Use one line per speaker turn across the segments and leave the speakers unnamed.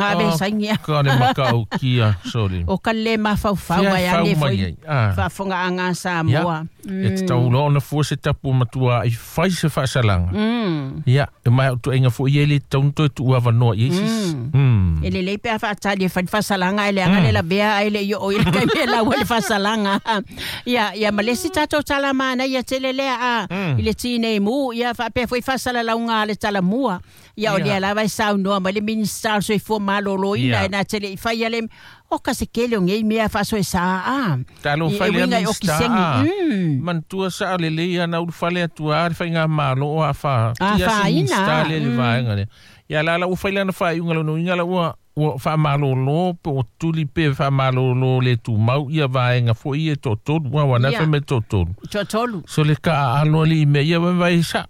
Ave saini.
Ka le matautia, sole.
O ka le mafaufau
Fia
ai
fau
ane
mai
foi
ai, ah.
faafogaaga a Samoa.
E tatau loa ona fua se tapu matua i fai se faasalaga. Ia, e mai au tuaiga foi ia e le tatau ona toe tuuavanoa i ai sisi.
E lelei pe a faatali e fai le faasalaga ae leaga le lavea ae le i oo i le taimi e lau ai le faasalaga. Ia, ia ma le isi tatou tala manaia tele lea a i le tinei mu, ia faapea foi faasalalauga a le talamua. Ia o lea lava e saunoa mai le Minisita o le Soifua Maloloina e na te le i faia le o ka se kele o nei mea faasoesa a.
Talofa
E
lea
uiga i
Minisita.
okiseni.
Manatua saa lelei ana ulufale atu a le faigamalo o afa tia se
Afaina.
Minisita lea i le vaega lea. Ia la la ua fai lana faaiuga lona uiga la ua ua faamalōlō pe o tuli pe faamalōlō le tumau ia vaega foi ia e toatolu aua na fai mai toatolu.
Toatolu.
So le kaaalo alii mea ia vaivai sao.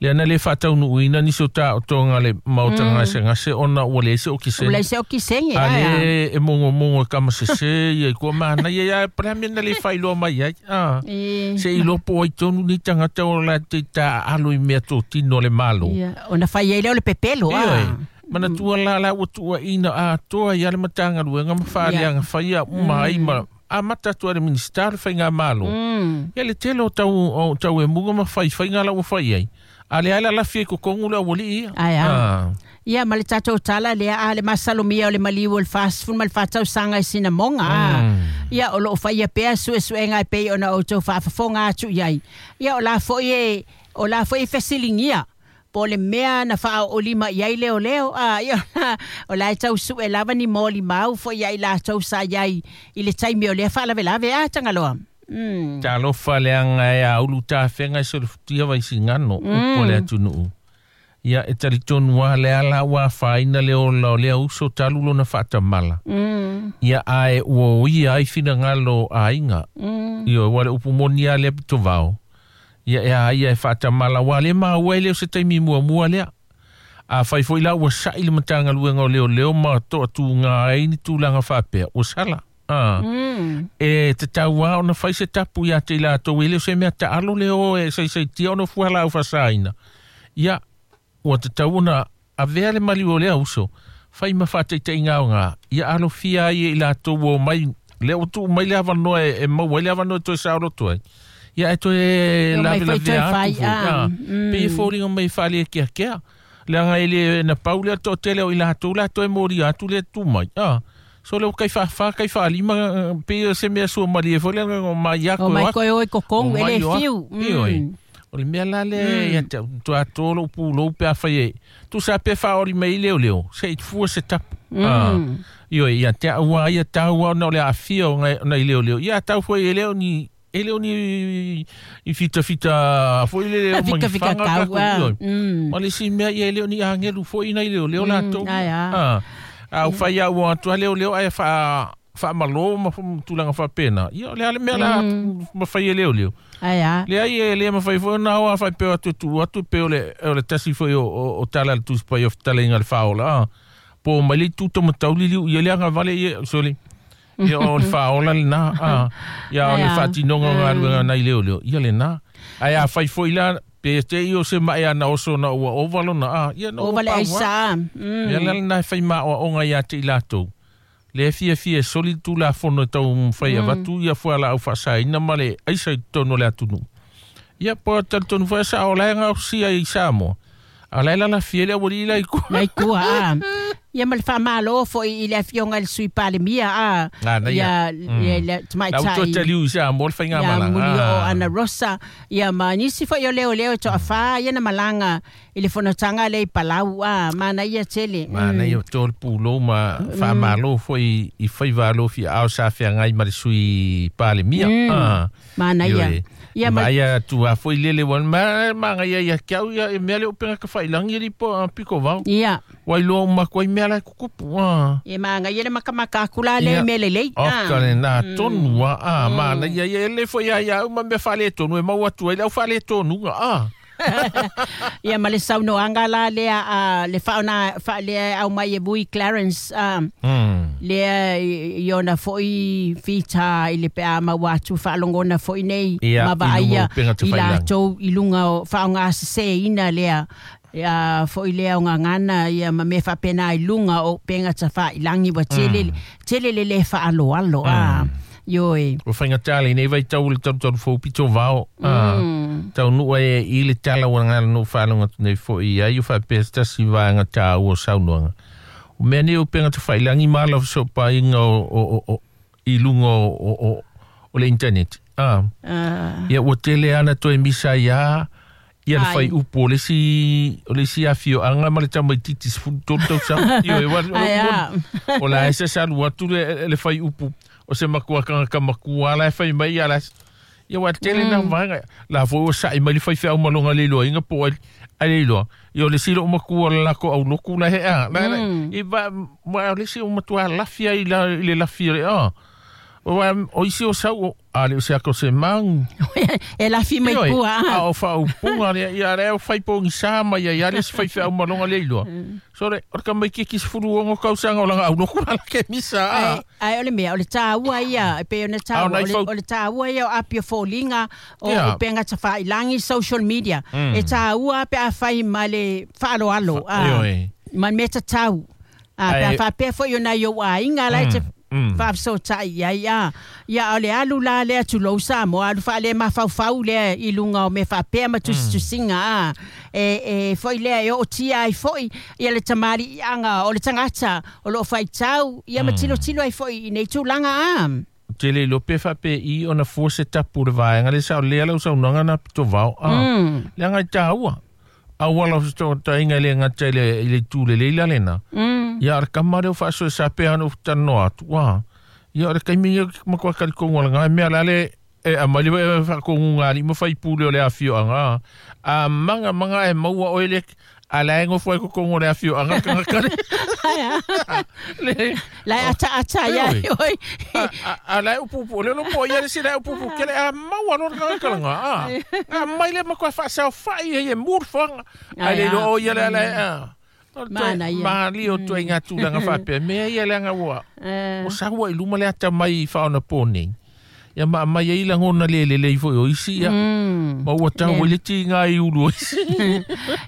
Lea na le faataunuuina nisi o taotoga le maota gasegase ona ua leai se okisene.
Ua leai se okisene.
A le e mogomogo e kamasese ia i kua manaia ia pa le a mea na le faailoa mai ai. A. Se i iloa po o ai tonu nei tagata o latou taaalo i mea totino a le Malo.
Ia, ona fai ai lea o le pepelo.
Ioe. Manatua la la ua tuuaina atoa ai le Matagaluega ma faaleaga faia uma ai ma amata atu ai le Minisita o le Faigamalo. Ia le tele o tau o tau emuga ma faifaiga la ua fai ai. A lea la lafia i kokogu le aualii ia.
Ae a. Ia ma le tatou tala lea a le masalomia o le maliu o le 44 tausaga i Sinamoga a. Ia o loo faia pea suesuega e pei ona outou faafofoga atu i ai. Ia o la foi e o la foi e fesiligia po o le mea na faaoolima i ai leoleo a ia o la e tau sue lava ni molimau foi ia i latou sa i ai i le taimi o lea faalavelave a Tagaloa.
Talofa leaga e aulu tafega i solofutia vaisigano upu o le atunuu. Ia e talitonu lava lea la ua afaina le ola o lea uso talu lona faatamala. Ia ae ua oia ai finagalo o aiga. Ioe, ua le upu moni lava lea pitovao. Ia e a ia e faatamala aua le maua e le o se taimi muamua lea. Afai foi la ua sa'i le Matagaluega o Leoleo ma toatuga ai ni tulaga faapea, ua sala. A. E tatau lava ona fai se tapu ia te i latou e le o se mea taalo le o e saisaitia ona fua laau faasaina. Ia, ua tatau ona avea le maliu o lea uso, fai ma faataitaiga aoga, ia alofia ai e i latou ua omai, lea ua tuu mai le avanoa e maua ai le avanoa e toe saoloto ai. Ia ae toe
Omai foi toe
lavelavea
fai,
atu foi.
ah.
A, pei e foliga mai e faalekeakea. Leaga e le na pau lea toatele o i latou la toe molia atu le tu mai. A, so le ua kai faafa kai faalima pei o se mea suamalie foi lea o mai
O
ako
mai
o
koe o i
o
kokogu e
mai
le
o
fiu.
aku. Ioe. O le mea la lea ia te au tuato lou pulou pe afai e tusa pe faaoli mai i leoleo se i fua se tapu. A, ioe, ia te au a ia taua ona o le aafia o nai leoleo. Ia tau foi e le o ni e le o ni i fitafita foi le o
Fika fika
mangifaga
kau
kako,
a.
ioe. Ma le isi mea ia e le o ni agelu foi nai leoleo latou.
Ai a.
A, a ufai au atu a leoleo ae faamalō ma tulaga faapena. Ia o le a le mea la mafai e leoleo.
Ai a.
Leai e le mafai foi ona ao a faipea atu e tuu atu pe o le, o le tasi foi o tala le Tusi Paia o fetalaiga le faaola. A, po o mai le itu tamatauli liu ia le agavale ia, sorry. Ia o le faaola lena. A, ia o le
Ai a.
faatinoga o galuega nai leoleo. Ia lena. Ae afai foi la, pe te i o se mae ana oso na ua ova lona. A, ia na ua
Ova le
pau a.
aisa.
Mea la lena e fai maoaoga ia te i latou. Le fiafia e soli tulafono e tau mafai avatu ia fualaau faasaina ma le aisa i totonu o le atunuu. Ia po talitonu foi sa o lae gaosia i Samoa. A lae lalafia le aualii la i kua.
Nai kua a. Ia ma le faamalo foi i le afioga i le Sui Palemia a.
Ah, na ia.
Ia le
La ua
tamaitai.
toe taliu i Samoa le
Ia
faigamalaga.
muli o Ana Rosa. Ia ma nisi foi o leoleo e toafā ia na malaga i le fonotaga lea i Palau a. Manaia tele.
Manaia o le pulou ma faamalo foi i faiva alofi ao sa feagai ma le Sui Palemia. Ah.
Manaia.
Ioe.
Ia ma
Vaai atu a foi lele ua ma magaia ia ke au ia e mea le upega ka failangi li po a piko vao.
Ia.
Ua iloa uma atu ai mea la e kukupu. Ah.
E magaia le makamaka aku la le
Ia.
mea lelei.
O ka lena tonu a a manaia ia e le foi ia ia au ma mea faaletonu e mau atu ai le au faaletonuga. Ah.
Ia ma le saunoaga la lea a le faona faalea au mai e Vui Clarence a lea i ona foi fita i le pe a maua atu faalogona foi nei
Ia,
ma
i luga
vaaia
o upega
i
tafailagi.
latou i luga o faaaogaseseina lea Ia fo'i lea o gagana ia ma mea faapena i luga o upega tafailagi ua tele tele le lē faaloalo a. Ioe.
Ua faigata lenei vaitau i le talutalu fou pito vao. Taunuu ai e i le tala ua gagana faalogo atu nei fo'i ai o faapea se tasi vaega tāua o saunoaga. O mea nei o upega tafailagi ma ala o fesoopaiga o i luga o le internet. Ia ua tele ana toe misa ia ia le fai upu o le isi afioaga ma le tamaititi 13 tausaga. Ioe, o la e sasalu atu le fai upu o se makua kagaka makua la e fai mai ia la ia ua tele na vaega la foi ua sa'i mai le faifeau ma loga le iloaina po ai le iloa. Ia o le isi loo makua o le lako auloku la hea i va ma o le isi o matua lafi ai la i le lafi o le a. O isi o sau a le o se ako se magu.
E lafi mai pua.
A o faaupuga lea ia lea o faipogisa mai ai le isi faifeau ma loga le iloa. So le o le tamaitiiti 16 tausaga o laga auloku la ke misa.
Ai o le mea o le tāua ia e pei ona tāua o le tāua ia o apia foliga o upega tafailagi social media. E tāua pe afai ma le faaloalo ma le mea tatau. Pe a faapea foi ona i ou aiga la e te faafesootai ai a. Ia o le alu la lea tulou Samoa alu faale mafaufau lea i luga o mea faapea ma tusitusiga a. E foi lea e ootia ai foi ia le tamaliiaga o le tagata o loo faitau ia ma tilotilo ai foi i nei tulaga a.
Tele ilo pe faapea i ona fua se tapu le vaega le sa o lea lau saunoaga na pito vao a. Leaga i tāua. Auala o fesootaiga i le gata i le itu lelei la lena. Ia o le kama lea o faasoe sa pea ona ufutanoa atu. Ia o le taimi ia matua talitogu alaga mea la le e aumai le faakoguga alii ma faipule o le afioaga. A maga maga e maua oe le a la e gofo ai totonu o le afioaga tagata le.
La e ataata ia oi.
A la e upuupu o le lopo ia le isi la e upuupu kele a maua loa le tagata laga a. A mai le matua faasaofa'i ai e mu le foaga. Ae le iloa o ia le ala e a. Maali o tuaiga tulaga faapea mea ia leaga ua saua i luma le ata mai faaonapo nei. Ia ma aumai ai lagona le lelei foi o isi ia. Ma ua tau ai le tiga i ulu o isi.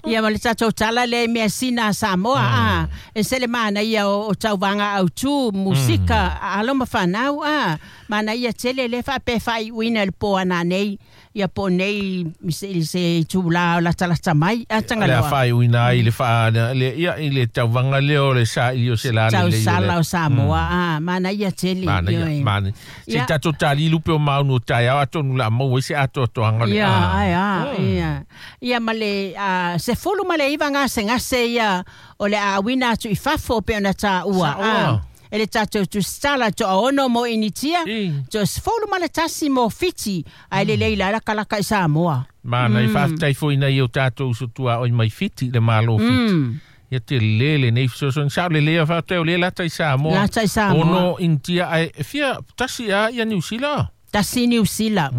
Ia ma le tatou tala lea i measina a Samoa a. E se le manaia o tauvaga autū, musika, alo ma fanau a. Manaia tele le faapea faaiuina i le po ananei. Ia po nei se itulā o latalata mai a
Le a
Tagaloa.
faaiuina ai le faa le ia i le tauvaga lea o le saili o se la lelei o le
Tausala o Samoa a. Manaia tele.
Manaia, manaia. Se tatou talilu pe o maunu o taeao atonu la maua ai se atoatoaga le
Ia, ai a, ia. Ia ma le 19 gasegase ia o le aauina atu i fafo pe ona tāua.
Saoa.
E le tatou tusitala toaono mo Initia, toa 11 mo Fiti, ae lelei la lakalaka i Samoa.
Mana i faafetai foi nai o tatou uso tuaoi mai Fiti le Malo Fiti. Ia te lele nei fesoasoani sao lelei a faafetai o lea lata i Samoa.
Lata i Samoa.
Ono Initia ae fia tasi a ia Niu Sila.
Tasi Niu Sila.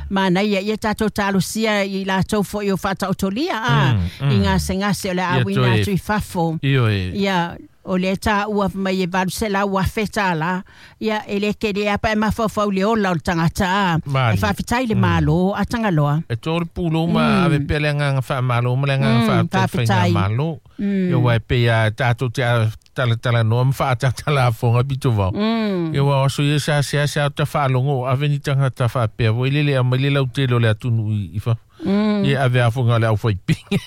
Manaia ia tatou talosia i latou foi o faataotolia a i gasegase o le aauina atu i fafo.
Ioe.
Ia o le tāua mai e 800,000 tālā. Ia e le kele apa e mafaufau le ola o le tagata a.
Mali.
E faafetai le Malo a Tagaloa.
E tō le pulou ma ave pea le agaga faamalo ma le agaga faafetai
Faafetai.
faigamalo. Ia ua e pei a tatou te talatalanoa ma faatatala afoga pito vao. Ia ua oso ia sa sea sea o ta faalogo o ave ni tagata faapea foi lele aumai le lautele o le atunuu i fafo. Ia ave afoga o le aufaipigi.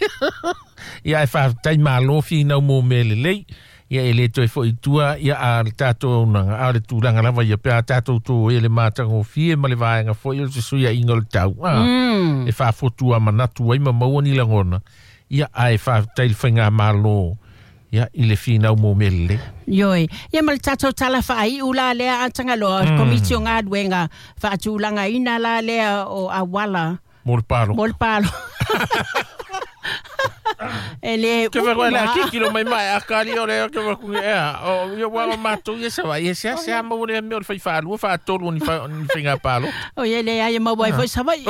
Ia e faafetai malo finau mo mea lelei. Ia e le toe foi i tua ia a le tatou auaunaga a o le tulaga lava ia pe a tatou tou e le matagofie ma le vaega foi o le fesuiaiga o le tau. E faafotu manatu ai ma maua ni lagona. Ia ae faafetai le faigamalo ia i le finau mo mea lelei.
Ioe. Ia ma le tatou tala faaiu la lea a Tagaloa, komiti o galuega faatulagaina la lea o auala.
Mo le palo.
Mo le palo. E le
Ke
upu
wa la
ma.
kikilo mai mai a kali o le ke wa ku e o ia wa matou ia sa vai se se a mo le me o le fai faalua faatolu ni fa ni faiga palo.
O ia le ai maua ai foi Savaii.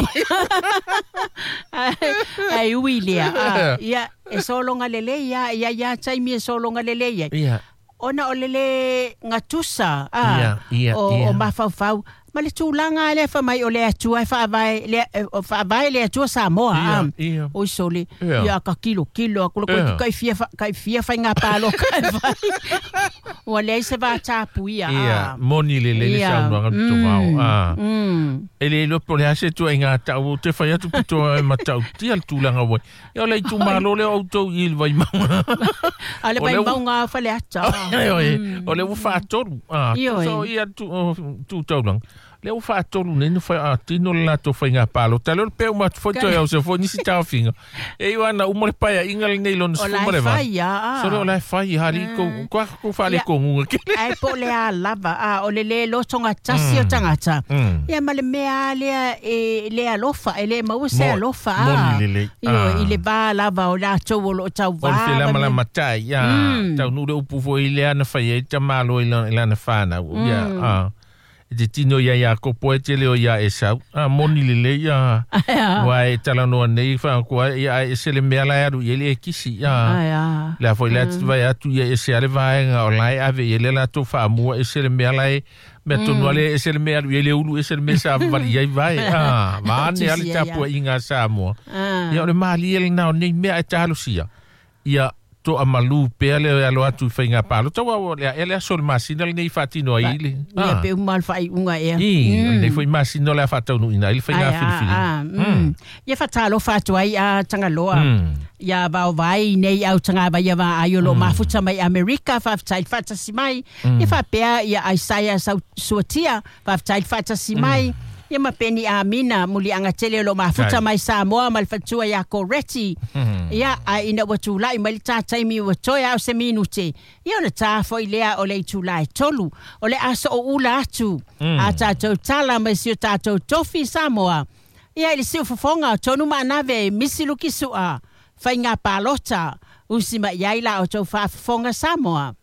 Ai ui lea. Ia e sologa lelei ia ia ia taimi e sologa lelei ai.
Ia.
Ona o le le gatusa
Ia, ia,
o
ia.
o mafaufau Ma le tulaga lea fai mai o le Atua e faavae le faavae le Atua Samoa
a.
Oi sole ia ka kilo kilo aku le kai fia kai fia faiga pāloka e fai. Ua leai se vatapuia.
Ia, moni lelei le saunoaga Pitovao. A. E le iloa po o le a se ituaiga tau ou te fai atu pito e matautia le tulaga ua i. Ia o le itumalo lea o outou i le Vaimauga.
A le Vaimauga Faleata.
O lea ua faatolu. A, tusa o ia tu taulaga. Lea ua faatolu nei na faatino le latou faiga palota. Lea o le pea uma atu foi toe ausia foi nisi taofiga. E iu ana uma le paeaiga lenei lona 18. Sole o la e fai hali ko kwa ko fale ko ngunga kele.
Ai po le a lava a o le le loto tasi o tagata. Ia ma le mea lea e le alofa e le maua se alofa
a. Moni lelei.
I le va lava o latou o lo o tauvā.
O le felamalama tai ia taunuu le upu foi lea na fai ai tamālo i lana whānau. Ia e te tino ia Iakopo e te leo ia Esau. A moni lelei ia. Ua e talanoa nei whanakua ia e se le mea la e alu i ele e kisi. Ia. Lea foi lea vai atu ia e se ale vaenga o lai ave i ele latou whaamua e se le mea la e mea tonu ale e se le mea alu i ele ulu e se le mea sa vali ai vai. Vaane ale tapua i ngā Samoa. Ia o le malie le nao nei mea e talosia. Ia to amalu pea le alo atu i whainga pālota wa o lea ele aso le masina lenei whaatino ai le.
Ia pe uma le whaiunga ea.
I, lenei foi masina le a whaataunu ina i le whainga filifili.
Ia whatalofa atu ai a Tangaloa. Ia vao vai nei au tanga vai va ai o lo mafuta mai Amerika whaftai whatasi mai. Ia whapea ia Isaiah Suatia whaftai whatasi mai. Ia ma peni amina muli anga tele lo mafuta mai Samoa ma le fatua ia Koreti. Ia a ina ua tulai mai le tātaimi ua toe au se minute. Ia ona tā foi lea o le itulai tolu. O le aso o ula atu. A tātou tala mai si o tātou tofi Samoa. Ia i le siufofoga o tonu maanave misi luki sua. Whainga pālota. Usi mai ai la o tau whaafofoga Samoa.